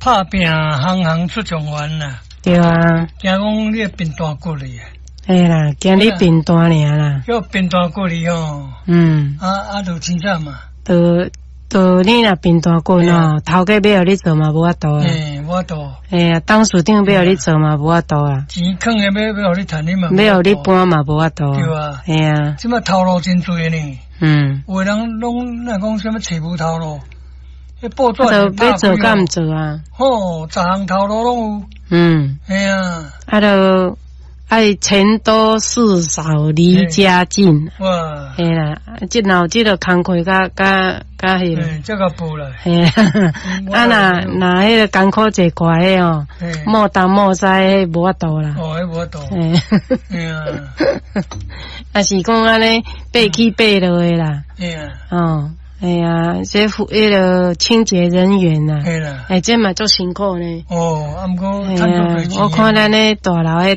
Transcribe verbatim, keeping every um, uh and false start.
拍拚行行出狀元啦。對啊。驚講你貧惰骨力。嘿啦，驚你貧惰爾啦。叫貧惰骨力哦。嗯。啊啊，就凊彩嘛。就就你若貧惰骨哦，頭家欲予你做嘛無法度啊。嘿，無法度。嘿啊，董事長欲予你做嘛無法度啊。錢囥的欲欲予你趁你嘛。欲予你搬嘛無法度。對啊。嘿啊。這擺頭路真濟呢。嗯。有的人攏若講啥物揣無頭路，彼報紙欲做敢毋做啊？吼，十項頭路攏有。嗯。嘿啊。啊，就愛錢多事少離家近。哇！嘿啦，這若有這个工課較較較彼個。這個報啦。嘿啊，若若彼个艱苦坐掛的哦，莫東莫西，彼無法度啦。哦，彼無法度。嘿啊。啊是講按呢爬起爬落的啦。嘿啊。哦，哎呀，這彼个清潔人員呐。嘿啦。欸，這嘛足辛苦呢。哦，啊毋過，我看咱咧大樓彼